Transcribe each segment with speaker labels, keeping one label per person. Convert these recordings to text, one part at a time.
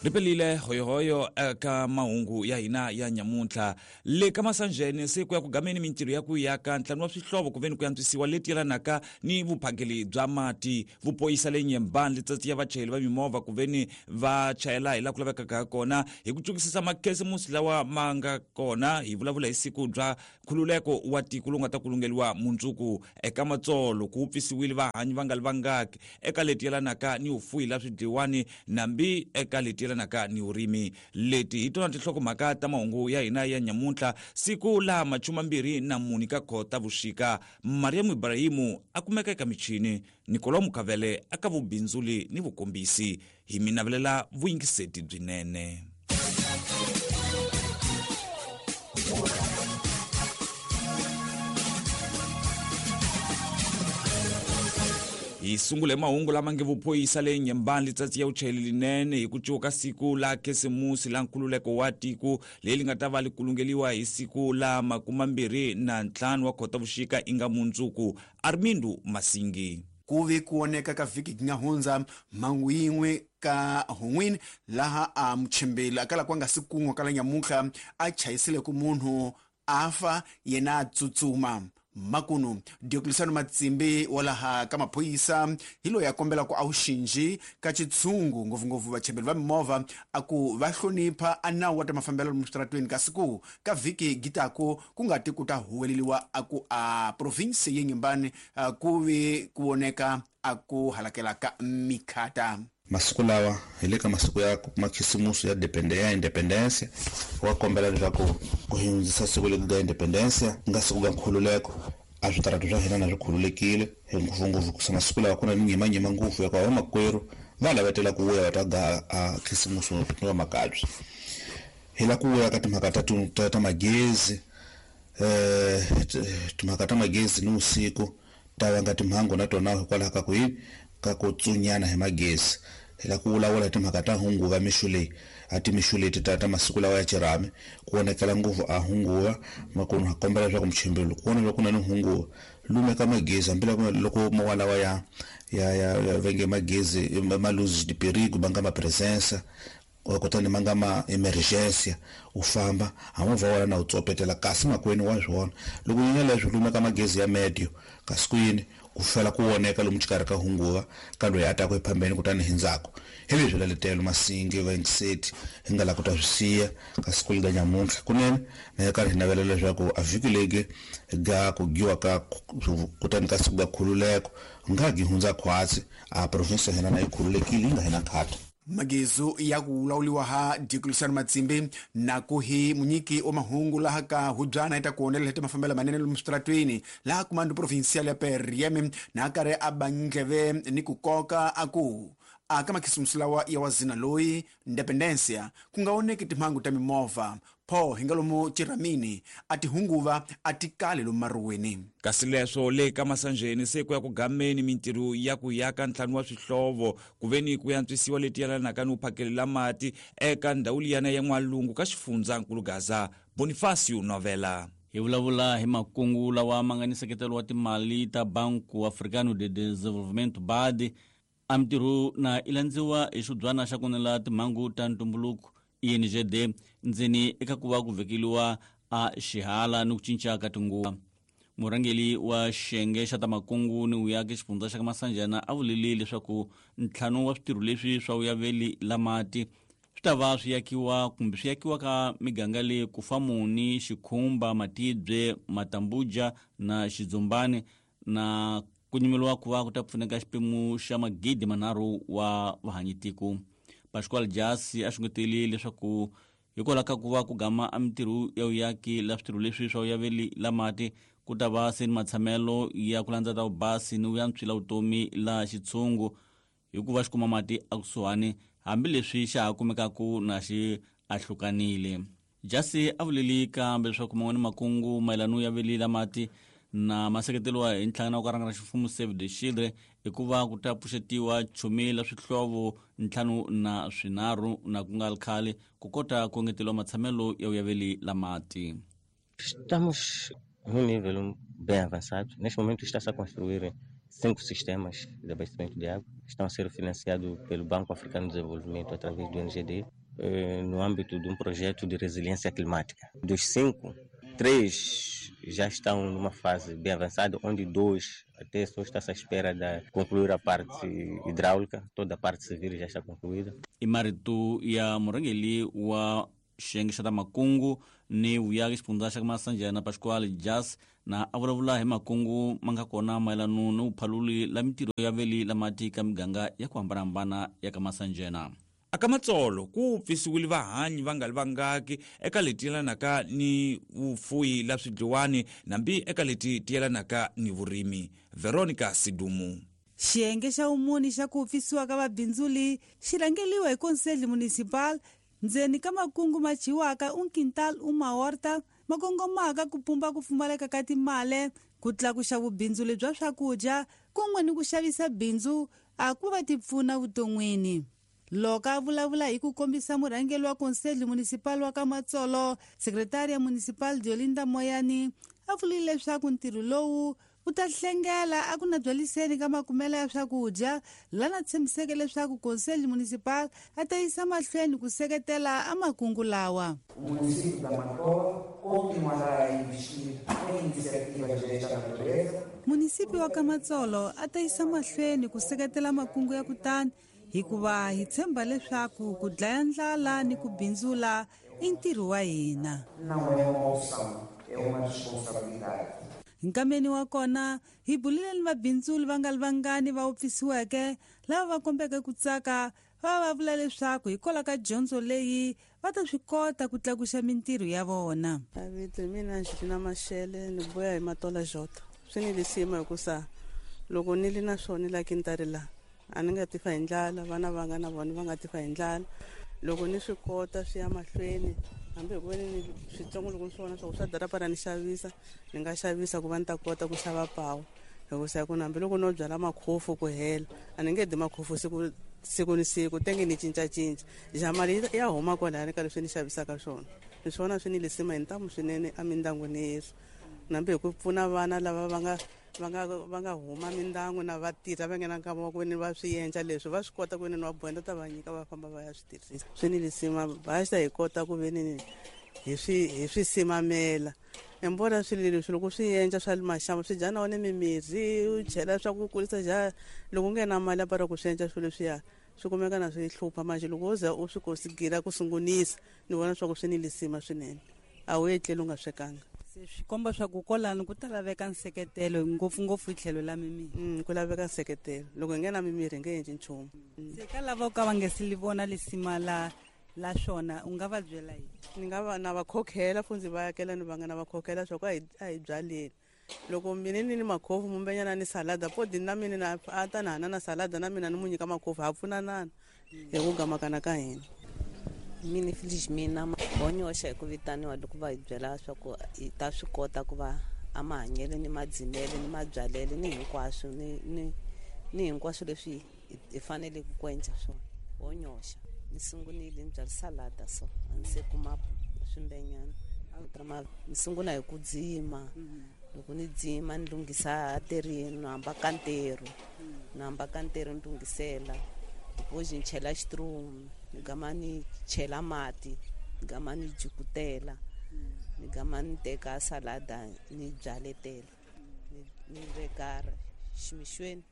Speaker 1: Ri pelile hoyohoyo eka mahungu ya hina ya nyamuntlha. Le ka Masanjene se ku ya ku gameni mintirho ya ku yaka ntlhanu wa swihlovo ku veni ku antswisiwa leti yelanaka ni vuphakeli bya mati. Vupoyisa le Nyembani letsatsi ya vachayeri va mimovha ku veni va chayela hi laha ku lavekaka ha kona hi ku tsukisisa makhesimusi lawa ma nga kona. Hi vulavula hi siku bya nkhululeko wa tiko lowu nga ta kulungeliwa mundzuku. Eka Matsolo ku wupfisiwile vahanyi va nga li vangaki eka leti yelanaka ni vufuyi la swidliwani nambi eka leti yelanaka ni vurimi. Leti hi tona tinhlokomhaka ta mahungu ya hina ya nyamuntlha, siku la 24 ka Khota vuxika. Mariam Ibrahimu a kumeka eka michini, Nicolau Mukavele aka vubindzuli ni vukombisi. Hi mi navelela vuyingiseti byinene. Hi sungule mahungu lama nge vuphoyisa le Nyembani letsatsi ya vuchayeli linene hi ku cuka siku la Khisimusi la nkhululeko wa tiko leri nga ta va li kulungeliwa hi siku la 25 wa Khotavuxika inga mundzuku. Armindo Masingi.
Speaker 2: Ku ve ku oneka ka vhiki gi nga hundza mhangu yin'we ka Hon'wini laha a muchembeli a kala ku nga si kun'wa kala nyamuntlha a chayisile ku munhu a fa yena a tsutsuma. Makunu Diocleciano Matsimbi wa laha ka maphorisa hi loyi a kombela ku a wu xinji ka xitshungu ngopfungopfu vachembeli va mimovha a ku va hlonipha a nawu wa ta mafambelo lomu switaratweni kasi ku ka vhiki gitaku ku nga ti ku ta huweleliwa a ku a province ye Nyembani ku vi ku voneka a ku halakela ka mikhata.
Speaker 3: Masiku lawa hi le ka masiku ya makhisimusi ya ya independencia, wa kombela leswaku ku hi hundzisa siku leri ga independencia ku nga siku ga nkhululeko, a switaratu swa hina na swi khululekile hi ngopfungopfu ku masiku lawa ku na minyimanyima ngopfu ya ku vamakwerhu va lavetela ku vuya va ta ga a khisimusi ni vamakabye. Hi la ku vuya ka timhaka ta magezi, timhaka ta magezi ni vusiku ta vanga timhangu na tona hikwalaho ka ku yini ka ku tsunyana hi magezi. Hi la ku vulavula hi timhaka ta hunguva mixo leyi, a timixo leti ta masiku lawa ya xirhami ku vonakela ngopfu a hunguva. Makunu ha kombela leswaku muchembeli loko ku vona leswaku ku na ni hunguva lumeka magezi, hambi loko mo walawa ya venge magezi ma luz de perigo ma nga ma presença kutani ma nga ma emergency u famba ha movha wa wena na wu tsopetela kasi makwenu wa swona. Loko nyanya leswi lumeka magezi ya medio kasi ku yini ku fela ku voneka lomu xikarhi ka hunguva ka loyi a taka ephambeni kutani hi ndzhaku. Hi leswi laletelo Masingi va yingiseti hi nga la ku ta swi siya ka siku lega nyamuntlha kunene na ya karhi hi navela leswaku a vhiki legi ga ku giwa ka kutani ka siku ga khululeko nga gi hundza khwatsi a province ya hina na yi khululekile yi nga hina khata.
Speaker 2: Magezu ya ku lawuliwa ha Diocleciano Matsimbi na ku hi munyiki wa mahungu laha ka hubyana yi ta ku onela leti mafambelo manene lomu switaratweni laha kumando provincial ya PRM na karhi a ba ndleve ni ku koka a ku a ka makhisimusi lawa ya wazina loyi Independencia ku nga oneki timhangu ta mimovha pho hi nga lomu Chiramini a ti hunguva a ti kali lomu maruweni.
Speaker 1: Kasi leswo le ka Masanjeni se ku ya ku gameni mintirho ya ku yaka ntlhanu wa swihlovo ku veni ku yantswisiwa leti yelanaka ni vuphakelela mati eka ndhawu liyana ya N'walungu ka xifundzankulu Gaza. Bonifacio Novela.
Speaker 4: Hi vulavula hi makungu lawa ma nga ni nseketelo wa timali ta Banco Africano de Desenvolvimento BAD. A mintirho na i landziwa hi xibyana xa ku nela timhangu ta ntumbuluko INGD ndzeni eka ku va ku vekeliwa a xihala ni ku cinca ka tinguva. Murhangeri wa xiyenge xa ta makungu ni vuyaki xifundza xa ka Masanjana a vulile leswaku ntlhanu wa switirho leswi swa vuyaveli la mati swi ta va swi yakiwa kumbe swi yakiwa ka miganga leyi Kufamuni, Xikhumba, Matibye, Matambuja na Xidzumbani na ku nyimeliwa ku va ku ta pfuneka xiphemu xa 3,000 wa vahanyitiko. Pascual Jasi a xungeteli leswaku hikwalaho ka ku va ku gama a mintirho ya vuyaki la switirho leswi swa vuyaveli la mati ku ta va se ni matshamelo ya ku landza ta vubasi ni vuyantswi la vutomi la xitshungu hikuva xi kuma mati ekusuhani hambileswi xa ha kumekaku na xi ahlukanile. Jasi a vuleli kambe leswaku man'wani makungu mayelana ya veli la mati na maseketeliwa hi nhlangano wa ku rhangana ximfumo Save the Children i ku va ku ta pfuxetiwa chumi la swihlovo 53 na ku nga ri khale ku kota ku engeteliwa matshamelo ya vuyaveli la mati.
Speaker 5: Estamos num nível bem avançado. Neste momento está-se a construir 5 sistemas de abastecimento de água, estão a ser financiados pelo Banco Africano de Desenvolvimento através do NGD, no âmbito de um projeto de resiliência climática. Dos 5, 3 já estão numa fase bem avançada, onde 2 até só está-se à espera de concluir a parte hidráulica, toda a parte civil já está concluída.
Speaker 4: I marito ya murhangeri wa xiyenge xa ta makungu ni vuyaki xifundza xa Masanjana Pascual Jas na a vulavula hi makungu ma nga kona mayelana ni vuphaluli la mintirho ya veli la mati ka miganga ya ku hambanahambana ya ka Masanjana.
Speaker 1: Aka Matsolo ku pfisiwile vahanyi va nga li vangaki eka leti yelanaka ni vufuyi la swidliwani nambi eka leti ti yelanaka ni vurimi. Veronica Sidumu.
Speaker 6: Xiyenge xa vumuni xa ku pfisiwa ka vabindzuli xi rhangeriwa hi Conselho Municipal ndzeni ka makungu ma dyiwaka un quintal uma horta ma kongomaka ku pumba ku pfumaleka ka timali, ku tlakuxa vubindzuli bya swakudya kun'we ni ku xavisa bindzu a ku va ti pfuna vuton'wini. Loko a vulavula hi ku kombisa murhangeri wa Conselho Municipal wa ka Matsolo, Secretaria Municipal Diolinda Moyani a vurile leswaku ntirho lowu wu ta hlengela a ku na byaliseni ka makumelo ya swakudya, lana tshembiseke leswaku Conselho Municipal a ta yisa mahlweni ku seketela a makungu lawa.
Speaker 7: O município da Matola continuará a investir em iniciativas desta natureza.
Speaker 6: Município wa ka Matsolo a ta yisa mahlweni ku seketela makungu ya kutani hikuva hi tshemba leswaku ku dlaya ndlala ni ku bindzula i ntirho wa hina.
Speaker 7: Não é uma opção, é uma responsabilidade.
Speaker 6: Nkameni wa kona hi bulile ni vabindzuli va nga li vangani va wupfisiweke lava va kombeke ku tsaka va va vula leswaku hikwalaho ka dyondzo leyi va ta swi kota ku tlakuxa mintirho ya vona.
Speaker 8: Vito hi mina Angelina Mashele, ni vuya hi Matola Jota. Swi ni lisima hikusa loko ni li na swona la kintari la a ni nga tifa hi ndlala, vana va nga na vona va nga tifa hi ndlala. Loko ni swi kota swi ya mahlweni, hambi hi ku veni ni switsongo loko ni swi vona swa ku swa darapara ni xavisa, ni nga xavisa ku va ni ta kota ku xava pawu. Hikusa ku hambi loko no byala makhofu ku hela, a ni nge dyi makhofu siku ni siku, tenge ni cincacinca. Ja mali ya huma kwalaya ka leswi ni xavisaka swona. Ni swi vona swi ni lisima hi ntamu swinene emindyangwini yesu. Nambi hi ku pfuna vana lava va nga huma mindyangu na va tirha va nghena nkama wa ku ni va swi endla leswi va swi kota ku ni va bohenda ta va nyika va famba va ya swi tirhisa. Swi ni lisima basta hi kota ku ve ni hi swi simamela. Embora swilo leswi loko swi endla swa maxambo swi dya na wona mimirhi, u chela swa ku kurisa ja loko u nge na mali ya para ku swi endla swilo leswiya swi kumeka na swi hlupha. Manje loko wo za u swi kosigila ku sungunisa, ni vona swa ku swi ni lisima swinene, a wu etleli u nga swekanga.
Speaker 6: Swi komba swa ku kwalano ku ta laveka nseketelo ngopfungopfu hi tlhelo la mimirhi.
Speaker 8: Ku laveka nseketelo, loko hi nge na mimirhi hi nge endli nchumu.
Speaker 6: Se ka lava ka va nge se li vona lisima la swona, u nga va byela yini?
Speaker 8: Ni nga va na va khokhela futhi ndzi va akela ni va nga na va khokhela swa ku a hi byaleni. Loko mina ni ni makhofu mumbenyana ni salada podi na mina na a ta na hana na salada na mina ni mu nyika makhofu, ha pfunanana hi ku gamakana ka hina.
Speaker 9: Mina Felizmina honyoxa hi ku vitaniwa loko va hi byela swa ku hi ta swi kota ku va a mahanyelo ni madzimele ni mabyalelo ni hinkwaswo ni hinkwaswo leswi hi faneleke ku endla swona. Honyoxa ni sungunile ni byala salada so a ni se kuma swimbenyana. Ni sungula hi ku dzima, loko ni dzima ni lunghisa terini, ni hamba ka ntirho, ni hamba ka ntirho ni lunghisela. Depois ni chela xitrumu, ni gama ni chela mati, ni gama ni jukutela, ni gama ni teka salada ni byaletela, ni veka ximixweni.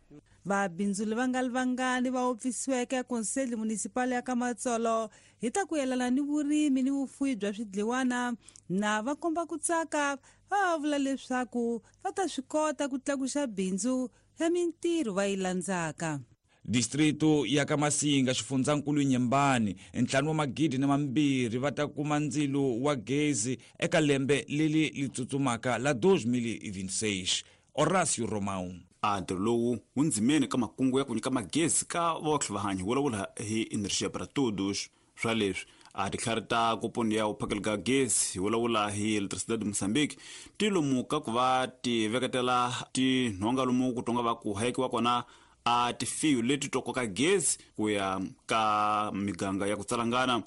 Speaker 6: Vabindzuli va nga li vangani va wupfisiweke Conselho Municipal ya ka Matsolo hi ta ku yelana ni vurimi ni vufuwi bya swidliwana na va komba ku tsaka, va vula leswaku va ta swi kota ku tlakuxa bindzu ya mintirho va yi landzaka.
Speaker 1: Distrito ya ka Masinga xifundzankulu Nyembani 5,200 va ta kuma ndzilo wa gezi eka lembe leri li tsutsumaka la 2026. Horacio Romão.
Speaker 2: A ntirho lowu wu ndzimeni ka makungu ya ku nyika magezi ka votlhe vahanyi vulavula hi Energia para Todos. Swa leswi a titlhari ta koponi ya vuphakeli ka gezi hi vulavula hi Eletricidade de Moçambique ti lomu ka ku va ti veketela tinhonga lomu ku tonga va ku hayekiwa kona a tifiyo leti to koka gezi ku ya ka miganga ya ku tsalangana.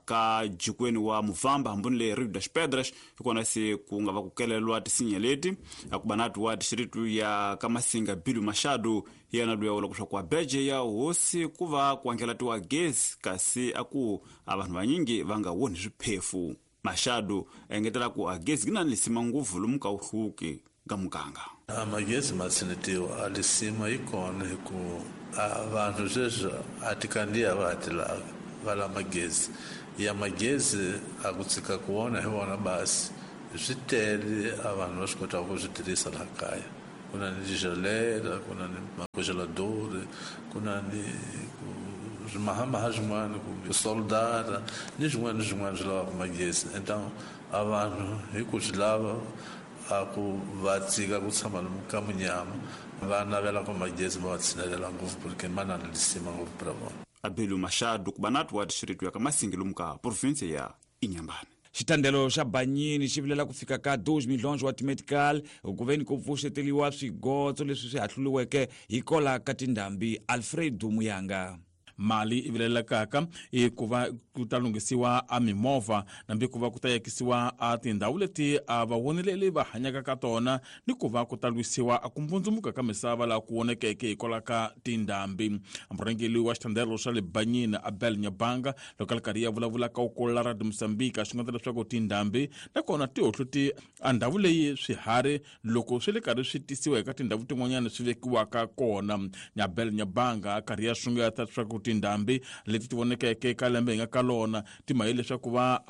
Speaker 10: Ka jikweni wa Muvamba hambuni le Rio das Pedras hikona se ku nga va ku kelelwa tisinya leti akubanatu wa distritu ya Kamasinga Bilu Machado yena luya vula leswaku abeje ya hosi ku va ku angelatiwa gezi kasi aku a vanhu vanyingi va nga woni swiphefu. Machado engetela ku a gezi yi na lisima ngopfu lomu ka wuhluki ka muganga.
Speaker 11: A magezi ma tshinetiwa a lisima yi kona hi ku a vanhu sweswi a ti kandziya va ha ti lavi va lava magezi ya magezi a ku tshika ku vona hi vona basi swi tele a vanhu va swi kotaka ku swi tirhisa laha kaya. Ku na ni tigelera, ku na ni macongelador, ku na ni swimahamaha swin'wana kumbe soldara ni swin'wana ni swin'wana swi lavaka magezi. Então a vanhu hi ku swi lava a ku va tshika ku tshama lomu ka munyama va navela ku magezi ma va tshinelela ngopfu porque ma na lisima ngopfu pra vona.
Speaker 10: Abelu Machado ku banatu wa distritu ya Kamasinga lomu ka province ya Inhambane.
Speaker 1: Xitandelo xa Banyini xi vilela ku fika ka 2 milhonjo wa timedical ku veni ku pfuxeteliwa swigotso leswi swi hahluriweke hi kola ka tindhambi. Alfredo Muyanga.
Speaker 12: Mali i vilelekaka i ku va ku ta lunghisiwa a mimovha nambi ku va ku ta yakisiwa a tindhawu leti a vawoneleli va hanyaka ka tona ni ku va ku ta lwisiwa a ku mbundzumuka ka misava laha ku vonekeke hikwalaho ka tindhambi. Murhangeri wa xitandelo xa le Banyini Abel Nyabanga loko a ri karhi ya vulavula ka ukolo ra Mozambique a xungeta leswaku tindhambi nakona ti hohluti a ndhawu leyi swiharhi loko swi le karhi swi tisiwa eka tindhawu tin'wanyana swi vekiwaka kona. Nyabel Nyabanga a karhi ya xungeta leswaku tindhambi leti ti vonekeke ka lembe hi nga ka lona ti maye leswaku va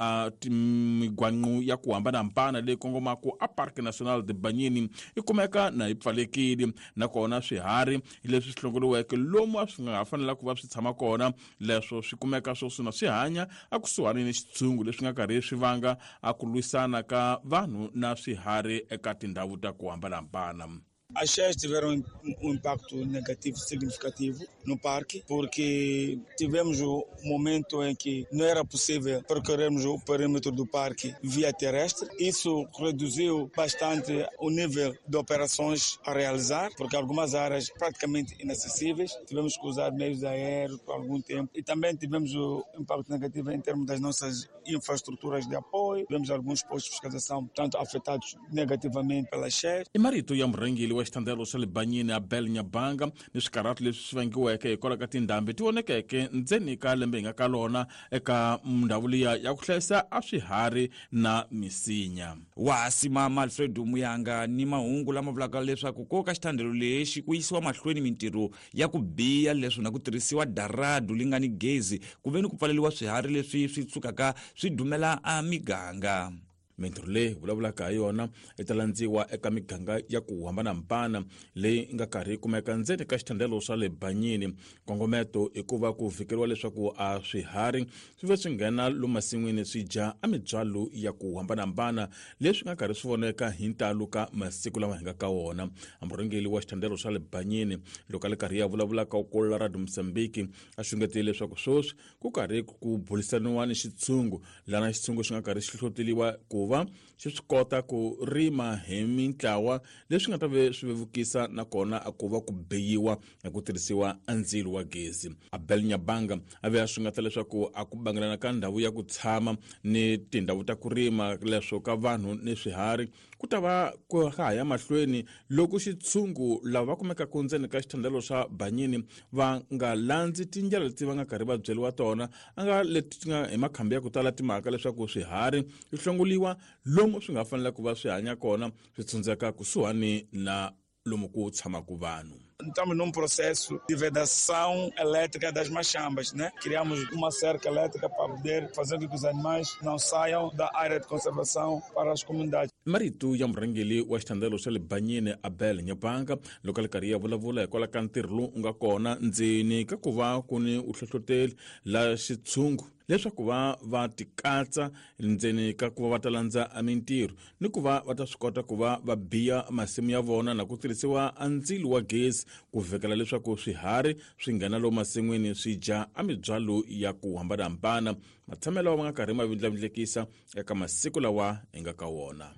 Speaker 12: migwanqu ya ku hambanahambana leyi kongomaka a Parque Nacional de Banyini yi kumeka na yi pfalekile nakona swiharhi leswi swi hlongoriweke lomu a swi nga ha fanela ku va swi tshama kona leswo swi kumeka sweswi na swi hanya a kusuhani ni xitshungu leswi nga karhi swi vanga a ku lwisana ka vanhu na swiharhi eka tindhawu ta ku hambanahambana.
Speaker 13: As cheias tiveram um impacto negativo significativo no parque, porque tivemos o momento em que não era possível percorrermos o perímetro do parque via terrestre. Isso reduziu bastante o nível de operações a realizar, porque algumas áreas praticamente inacessíveis, tivemos que usar meios aéreos por algum tempo. E também tivemos o impacto negativo em termos das nossas infraestruturas de apoio, tivemos alguns postos de fiscalização tanto afetados negativamente pelas cheias.
Speaker 12: I marito ya murhangeri wa xitandelo xa le Banyini Abel Nyabanga ni swikarhati leswi swi vangiweke hikwalaho ka tindhambi ti vonekeke ndzeni ka lembe hi nga ka lona eka ndhawu liya ya ku hlayisa a swiharhi na misinya.
Speaker 1: Wa simama Alfredo Muyanga ni mahungu lama vulaka leswaku ko ka xitandelo lexi ku yisiwa mahlweni mintirho ya ku biya leswi na ku tirhisiwa daradu li nga ni gezi ku veni ku pfaleriwa swiharhi leswi swi tsukaka swi dumela a miganga.
Speaker 12: Mintirho leyi vulavulaka hi yona yi ta landziwa eka miganga ya ku hambanahambana leyi nga karhi yi kumeka ndzeni ka xitandelo swa le Banyini. Nkongometo i ku va ku vhikeriwa leswaku a swiharhi swi va swi nghena lomu masin'wini swi dya a mibyalo ya ku hambanahambana leswi nga karhi swi voneka hi ntalo ka masiku lama hi nga ka wona. Murhangeri wa xitandelo xa le Banyini loko a ri karhi ya vulavula ka ukolo ra Mozambique a xungetile leswaku sweswi ku karhi ku burisaniwa ni xitshungu lana xitshungu xi nga karhi xi hlohloteliwa ku va xi swi kota ku rima hi mintlawa leswi nga ta ve swi vevukisa nakona a ku va ku beyiwa hi ku tirhisiwa a ndzilo wa gezi. Abel Nyabanga a ve a xungeta leswaku a ku bangelana ka ndhawu ya ku tshama ni tindhawu ta ku rima leswo ka vanhu ni swiharhi ku ta va ku ha ya mahlweni loko xitshungu lava va kumekaka ndzeni ka xithandelo xa Banyini va nga landzi tindlela leti va nga karhi va byeriwa tona a nga leti ti nga hi makhambi ya ku tala timhaka leswaku swiharhi swi hlongoliwa lomu swi nga fanela ku va swi hanya kona swi tshundzeka kusuhani na lomu ku tshamaka vanhu.
Speaker 13: Estamos num processo de vedação elétrica das machambas, né? Criamos uma cerca elétrica para poder fazer com que os animais não saiam da área de conservação para as comunidades.
Speaker 12: Marito ya murhangeri wa xitandelo xa le Banyini Abel Nyabanga loko a ri karhi ya vulavula hikwalaho ka ntirho lowu nga kona ndzeni ka ku va ku ni uhlohloteli la xitshungu leswaku va va tikatsa ndzeni ka ku va va ta landza mintirho ni ku va va ta swi kota ku va va biya masimu ya vona na ku tirhisiwa a ndzilo wa gezi ku vhekela leswaku swiharhi swi nghena lomu masin'wini swi dya a mibyalo ya ku hambanahambana matshamelo ma nga karhi ma vindlavindlekisa eka masiku lawa hi nga ka wona.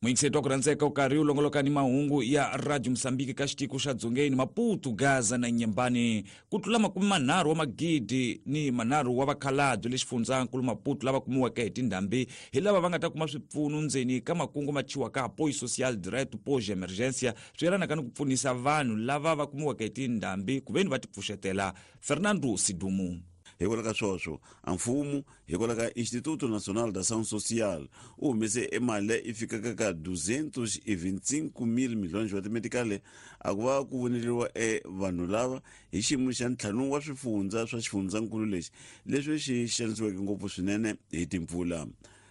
Speaker 1: Muyingiseti wa ku rhandzeka u karhi u longoloka ni mahungu ya Radio Mosambiki ka xitiko xa Dzongeni, Maputo, Gaza na Nyembani. Ku tlula 33,000 wa vakhalabye le xifundzankulu Maputo lava kumiweke hi tindhambi hi lava va nga ta kuma swipfuno ndzeni ka makungu ma thyiwaka Apoio Social Direto Pós Emergência, swi yelanaka ni ku pfunisa vanhu lava va kumiweke hi tindhambi ku veni va tipfuxetela. Fernando Sidumu.
Speaker 14: Hikwalaho ka swoswo, a mfumo hikwalaho ka Instituto Nacional da Ação Social u humese e mali leyi i fikaka ka 225 mil milhões wa timetikale a ku va ku voneriwa e vanhu lava hi xiyimo xa ntlhanu wa swifundza swa xifundzankulu lexi leswi xi xanisiweke ngopfu swinene hi timpfula.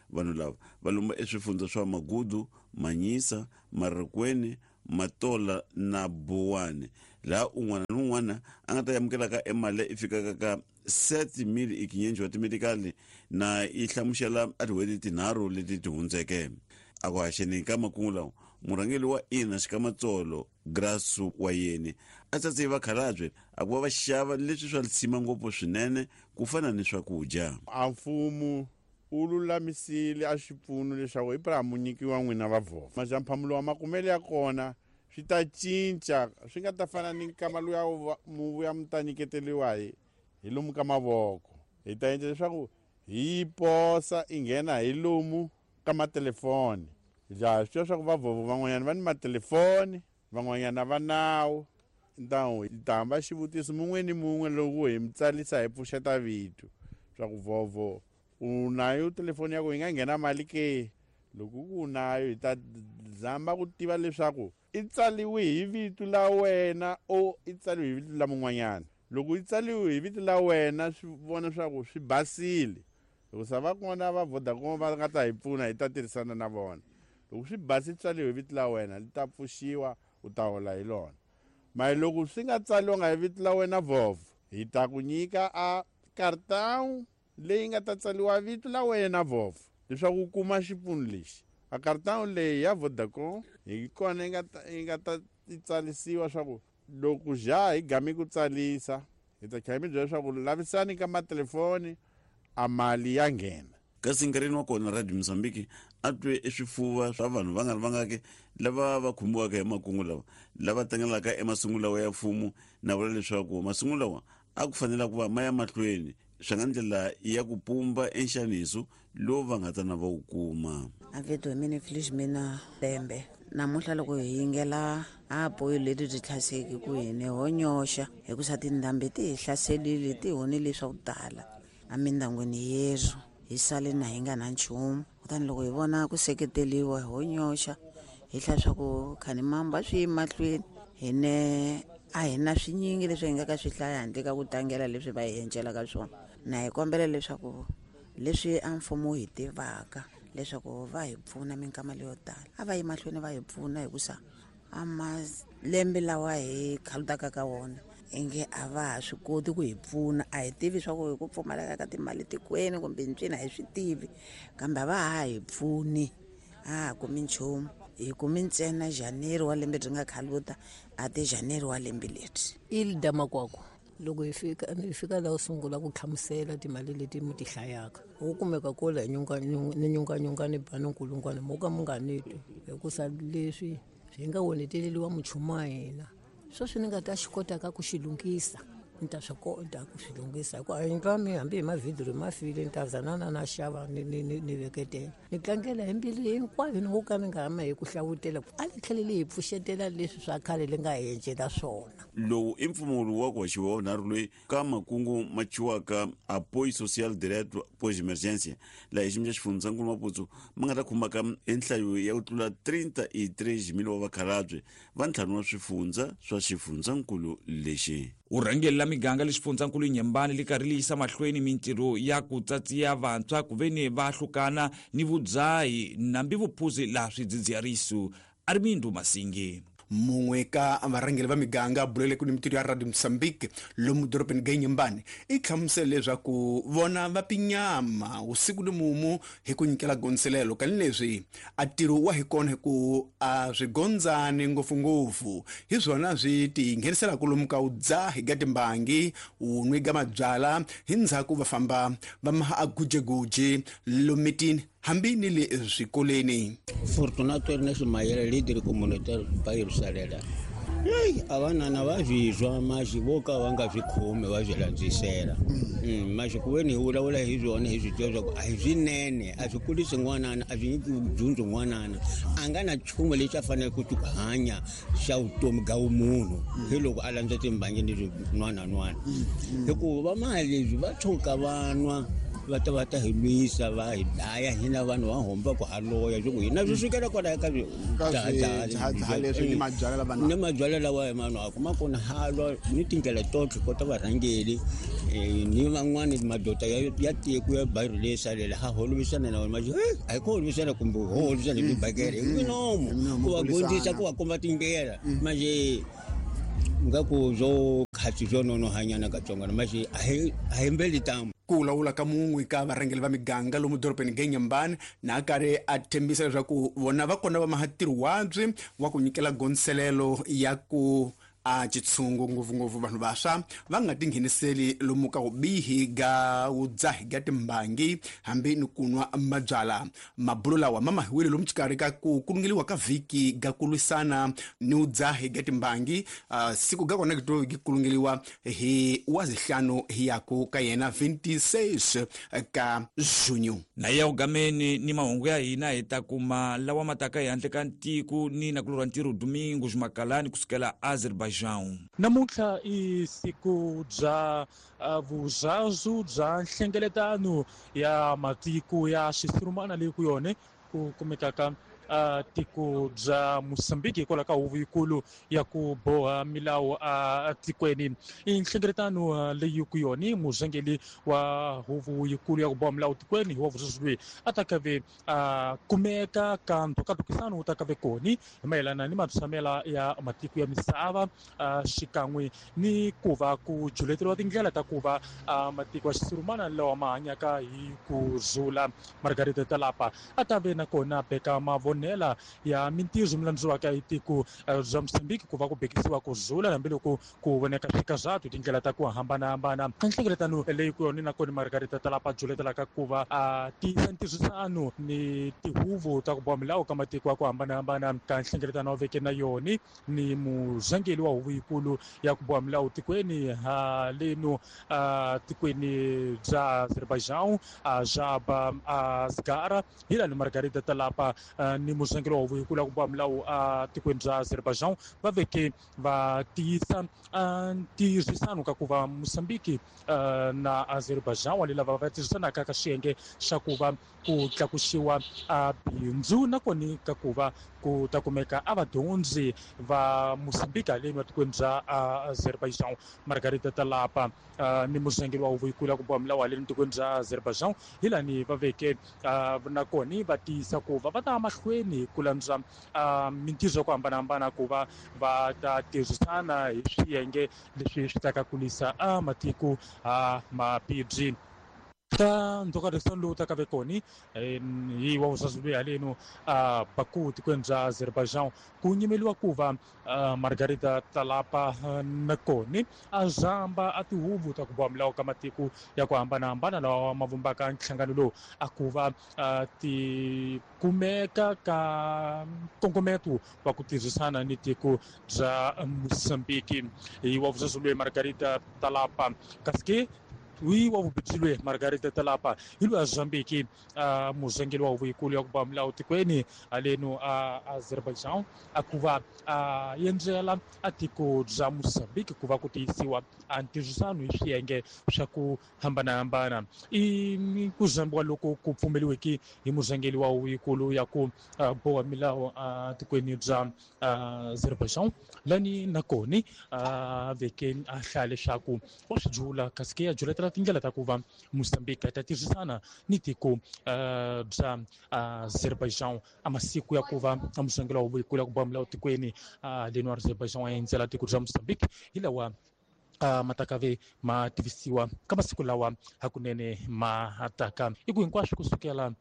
Speaker 14: Vanhu lava va lomba eswifundza swa Magudu, Manyisa, Marikweni, Matola na Buwani, laha un'wana ni un'wana a nga ta amukelaka e mali leyi fikaka ka 7,500 wa timetikali na yi hlamusela a tin'hweti tinharhu leti ti hundzeke. A ku haxeni ka makungu lawa, murhangeri wa ina Xikamatsolo Grasu wa yeni a tsatse vakhalabye a ku va va xava leswi swa lisima ngopfu swinene ku fana ni swakudya.
Speaker 15: A mfumo u lulamisile a xipfuno leswaku Ibrahim munyikiwa n'wina va vhova. Majamphamulo wa makumele ya kona swi ta cinca, swi nga ta fana ni nkama luya mu vuya mu ta nyiketeriwa hi lomu ka mavoko. Hi ta endla leswaku hi yi posa i nghena hi lomu ka matelefoni. Ja swi tiva swa ku vavhovo van'wanyana va ni matelefoni, van'wanyana va nawu. Ntawu hi ta hamba xivutiso mun'we ni mun'we loko hi mi tsalisa hi pfuxeta vito swa ku vhovho u nayo telefoni ya ku yi nga nghena mali ke. Loko ku u nayo hi ta zama ku tiva leswaku i tsaliwe hi vito la wena o i tsaliwe hi vito la mun'wanyana. Loko i tsaliwe hi vito la wena swi vona swa ku swi basile. Loko sa va kona va Vodacom va nga ta hi pfuna hi ta tirhisana na vona. Loko swi basi tsaliwe hi vito la wena li ta pfuxiwa u ta hola hi lona. Mara loko swi nga tsaliwanga hi vito la wena vhovho, hi ta ku nyika a cartão leyi nga ta tsaliwa vito la wena vhovho leswaku u kuma xipfuno lexi. A cartão leyi ya Vodacom hi kona yi nga ta yi tsalisiwa swa ku loko ja hi gami ku tsalisa hi ta tlhela mi byela leswaku lavisani ka matelefoni a mali ya nghena.
Speaker 14: Kasi nkarhini wa kona Radio Mozambique a twe eswifuva swa vanhu va nga ri vangaki lava va khumbiwaka hi makungu lawa lava tlangelaka emasungulo lawa ya mfumo na vula leswaku masungulo lawa a ku fanela ku va ma ya mahlweni swi nga ndlela ya ku pumba enxaniso lowu va nga ta na va wu kuma.
Speaker 16: A vito hi mina Felizmina Lembe. Namuntlha loko hi yingela a apoyo leti byi tlhaseki ku hine ho nyoxa hikusa tindhambi ti hi hlaselile ti honile swa ku tala emindyangwini yerhu hi sale na hi nga na nchumu. Kutani loko hi vona ku seketeliwa ho nyoxa hi hlaya swa ku khani mamba swi yi mahlweni hine a hi na swinyingi leswi hi nga ka swi hlaya handle ka ku tlangela leswi va hi encelaka swona. Na hi kombela leswaku leswi a mfumo wu hi tivaka leswaku va hi pfuna minkama leyo tala a va yi mahlweni va hi pfuna hikusa a malembe lawa hi khalutaka ka wona inge a va ha swi koti ku hi pfuna. A hi tivi swa ku hi ku pfumaleka ka timali tikweni kumbe ntswini a hi swi tivi, kambe a va ha hi pfuni, a ha kumi nchumu. Hi kumi ntsena January wa lembe byi nga khaluta a ti January wa lembe leri.
Speaker 17: Ilda Makwakwa, loko hi fika laha u sungula ku hlamusela timali leti mi ti hlayaka, u kumeka kula hi ni nyunganyunga ni ba ni nkulungwana mo ka mi nga ni twi, hikusa leswi swi nga oneteleliwa muchumu wa hina. Sweswi ni nga ta xi kotaka ku xi lunghisa, ni ta swi kota ku swi lunghisa hikuva a yindlu ya mina hambi hi mavhidhiyo ma file, ni ta za na na na xava ni veketela. Ni tlangela hi mbilu hinkwayo ni ngo ka ni nga hama hi ku hlavutela, a ni tlhele ni hi pfuxetela leswi swa khale li nga hi encela swona.
Speaker 14: Lowu i mpfumawulo wa ku haxiwa wa vunharhu loyi ka makungu ma thyiwaka Apoio Social Direto Pós Emergência, laha hi xiyimo xa xifundzankulu Maputo ma nga ta khumbaka enhlayo ya ku tlula 33,000 wa vakhalabye va ntlhanu wa swifundza swa xifundzankulu lexi.
Speaker 1: Vurhangeri la miganga le xifundzankulu Nyembani li karhi li yisa mahlweni mintirho ya ku tsatsiya vantshwa ku veni va hlukana ni vudzahi nambi vuphuzi laha swidzidziharisi. Armindo Masingi.
Speaker 2: Mun'we ka varhangeri va miganga bulele ku ni mintirho ya Radio Mozambique lomu dorobeni ga Nyembani i hlamusele leswaku vona va pinyama usiku ni mumu hi ku nyikela gondzelelo kani leswi a ntirho wa hi kona hi ku a swi gondzani ngopfungopfu hi swona swi ti ngheniselaka lomu ka udzahi ga timbangi wu nwi ga mabyala hi ndzhaku va famba va maha a gujeguje lomu mitini. hambi ni le swikolweni.
Speaker 18: Fortunato Ernest Mayele, líder comunitário bairro Salela. Ei, a vanana va swi twa maxi vo ka va nga swi khomi va swi landzisela. Maxi ku ve ni hi vulavula hi swona hi swi tiva swa ku a hi swinene, a swi kulisi n'wanana, a swi nyiki dyondzo n'wanana. A nga na nchumu lexi a faneleke ku hanya xa vutomi bya vumunhu hi loko a landza timbangi ni swin'wanan'wana. Hikuva va mali leswi va tshuka va nwa va ta va ta hi lwisa va hi dlaya hina vanhu va homba ku haloya swi ku hina swi sukela kwalaya ka
Speaker 2: swihahaha leswi ni mabyalwa lava
Speaker 18: ni mabyalwa lawa hi manwaka ma kona halwa ni tindlela totlhe kota varhangeli ni van'wani madoda ya tiko ya bairro leyi salela ha holovisana na vona maxi a hi ku holovisana kumbe ho holovisana hi tibakele hi minomo ku va dyondzisa ku va komba tindlela manje nga ku byo khatsi byo nonohanyana katsongwana maxi a hi mbeli tamu.
Speaker 2: Ku vulavula ka mun'we ka varhangeri va miganga lomu dorobeni Genyambani na karhi a tshembisa leswaku vona va kona va maha ntirho wabyi wa ku nyikela gondzelelo ya ku a xitshungu ngopfungopfu vanhu vantshwa va nga tingheniseli lomu ka vubihi ga vudzahi ga timbangi hambi ni ku nwa mabyala. Mabulo lawa ma mahiwile lomu xikarhi ka ku kulungeliwa ka vhiki ga ku lwisana ni vudzahi ga timbangi. Siku ga kona to gi kulungeliwa hi wazihlanu hi yaku ka yena 26 ka junho.
Speaker 1: Na ya ugameni ni mahungu ya hina hi ta kuma lawa mataka hi handle ka ntiko ni nakulorwa ntirho Domingo Makalani kusukela Azerbaijan.
Speaker 19: Namuntlha i siku bya vuzazu bya nhlengeletano ya matiko ya xisurumana leyi ku yone ku kumekaka tiko bya Mozambique hikwalaho ka huvo yikulu ya ku boha milawu atikweni. I nhlengeletano leyi ku yone murhangeri wa huvo yikulu ya ku boha milawu tikweni wa vuzazu loyi a ta kave kumeka ka ntokatukisano wu ta kave koni hi mayelana ni matshamela ya matiko ya misava xikan'we ni ku va ku juleteriwa tindlela ta ku va matiko ya xisurumana lawa ma hanyaka hi ku zula. Margarita Talapa a ta ve nakona beka mavonela ya mintirho mi landziwaka hi tiko bya Mozambique ku va ku bekisiwa ku zula hambiloko ku voneka swikazatu tindlela ta ku hambanahambana. Nhlengeletano leyi ku yona nakona Margarita Talapa juletelaka ku va a tiyisa ntirhisano ni tihuvo ta ku boha milawu ka matiko ya ku hambanahambana ka nhlengeletano wa veke na yoni ni murhangeri wa huvo yikulu ya ku boha milawu tikweni haleno tikweni bya Azerbaijan Jaba Asgara hi lani Margarita Talapa ni murhangeri wa huvo yikulu ya ku boha milawu tikweni bya Azerbaijan va veke va tiyisa ntirhisano ka ku va Mozambique na Azerbaijan wa lava va tirhisanaka ka xiyenge xa ku va ku tlakusiwa bindzu nakona ka ku va ku ta kumeka a vadyondzi va Mozambique haleni matikweni bya Azerbaijan. Margarita Talapa ni murhangeri wa huvo yikulu ya ku boha milawu haleni tikweni bya Azerbaijan hi lani va veke nakona va tiyisa ku va va ta mahlweni ku landza mintirho ya ku hambanahambana ku va va ta tirhisana hi swiyenge leswi swi ta ka kulisa matiko mabibyi. Ta ntokarisano lowu ta ka ve koni hi wa vuzazu loyi haleno Baku tikweni bya Azerbaijan ku nyimeliwa ku va Margarita Talapa nakoni a zamba a tihuvo ta ku boha milawu ka matiko ya ku hambanahambana lawa ma vumbaka nhlangano lowu a ku va ti kumeka ka nkongometo wa ku tirhisana ni tiko bya Mozambique. Hi wa vuzazu loyi Margarita Talapa kasi ke wi wa vubijilwe Margarita Talapa hi loyi a Mozambique murhangeri wa huvo yikulu ya ku boha milawu tikweni haleno Azerbaijan a ku va a endzela a tiko bya Mozambique ku va ku tiyisiwa a ntirhisano hi swiyenge swa ku hambanahambana. I ku zambiwa loko ku pfumeliweke hi murhangeri wa huvo yikulu ya ku boha milawu tikweni bya Azerbaijan lani nakoni a veke a hlaya leswaku wa swi jula kasi ke ya juletela tindlela ta ku va Mozambique ta tirhisana ni tiko bya Azerbaijan a masiku ya ku va murhangeri wa huvo yikulu ya ku boha milawu tikweni leno Azerbaijan a endzela tiko bya Mozambique hi lawa matakave ma tivisiwa ka masiku lawa hakunene ma taka i ku hinkwaswo kusukela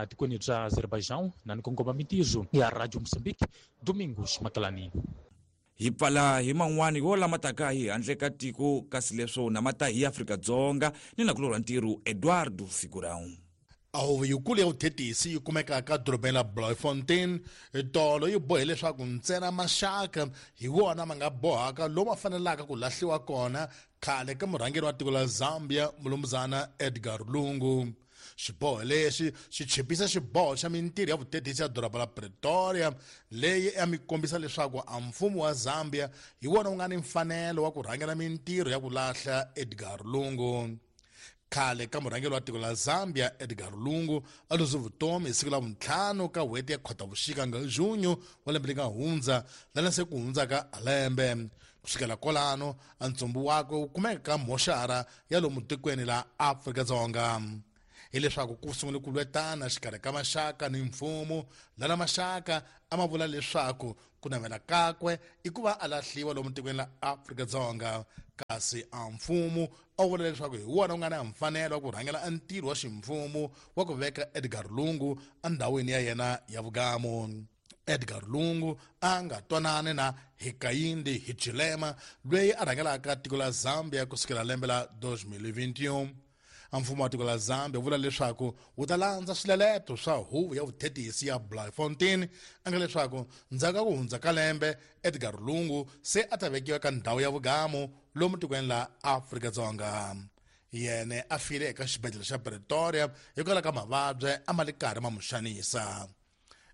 Speaker 19: tikweni bya Azerbaijan na ni kongoma mintirho ya Radio Mozambique. Domingos Makalani.
Speaker 1: Hi pfala hi man'wani yo lama taka hi handle ka tiko kasi leswo na mata hi Afrika-Dzonga ni nakulorwa ntirho Eduardo Figurão.
Speaker 20: A huvo yikulu ya vuthetisi yi kumekaka dorobeni la Bloemfontein tolo yi bohe leswaku ntsena maxaka hi wona ma nga bohaka lomu fanelaka ku lahliwa kona khale ka murhangeri wa tiko la Zambia mulumuzana Edgar Lungu. Xiboho lexi xi chipisa xiboho xa mintirho ya vutetisi ya doroba la Pretoria leyi a mi kombisa leswaku a mfumo wa Zambia hi wona wu nga ni mfanelo wa ku rhangela mintirho ya ku lahla Edgar Lungu. Khale ka murhangeri wa tiko la Zambia Edgar Lungu a luze vutomi hi siku la vuntlhanu ka n'hweti ya Khotavuxika nga junho wa lembe leri nga hundza lana se ku hundzaka a lembe. Kusukela kwalano a ntsumbu wakwe wu kumeka ka moxara ya lomu tikweni la Afrika-Dzonga. Hileswaku ku sungule ku lwetana xikarhi ka maxaka ni mfumo lana maxaka a ma vula leswaku ku navela kakwe i ku va a lahliwa lomu tikweni la Afrika-Dzonga, kasi a mfumo a wu vula leswaku hi wona wu nga na mfanelo wa ku rhangela a ntirho wa ximfumo wa ku veka Edgar Lungu endhawini ya yena ya vugamu. Edgar Lungu a nga twanani na Hakainde Hichilema loyi a rhangelaka tiko la Zambia kusukela lembe la 2021. A mfumo wa tiko la Zambia vula leswaku wu ta landza swileleto swa huvo ya vuthetisi ya Bloemfontein a nga leswaku ndzhaku ka ku hundza ka lembe Edgar Lungu se a ta vekiwa ka ndhawu ya vugamu lomu tikweni la Afrika-Dzonga. Yene a file eka xibedhlele xa Pretoria hikwalaho ka mavabyi a ma le karhi ma n'wi xanisa.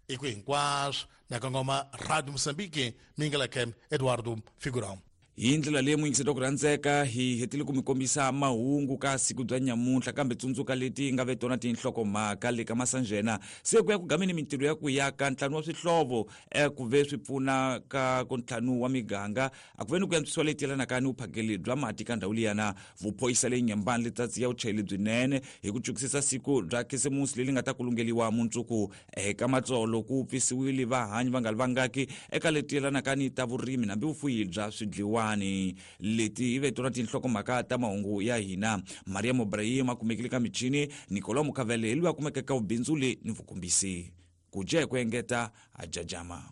Speaker 20: I ku hinkwaswo na kongoma Radio Mozambique mingeleke Eduardo Figurão.
Speaker 1: Hi ndlela leyi muyingiseti wa ku rhandzeka hi hetile ku mi kombisa mahungu ka siku bya nyamuntlha, kambe tsundzuka leti nga ve tona tinhlokomhaka le ka masanjena. Se ku ya ku gameni mintirho ya ku yaka ntlhanu wa swihlovo ku ve swi pfuna ka ku ntlhanu wa miganga a ku ve ni ku antswisiwa leyi yelanaka ni vuphakeli bya mati ka ndhawu liyana. Vuphorisa leyi nyambani letsatsi ya vuchayeri lebyinene hi ku cukisisa siku bya khisimusi leri nga ta kulungeliwa mundzuku eka matsolo ku pfisiwile vahanyi va nga ri vangaki eka leti yelanaka ni ta vurimi hambi vufuyi bya swidliwani. Leti hi ve tona tinhlokomhaka ta mahungu ya hina. Maria Ibrahim a kumekile ka michini, Nicolau Mukavele hi loyi a kumekaka vubindzuli ni vukombisi. Ku dya hi ku engeta a jajama.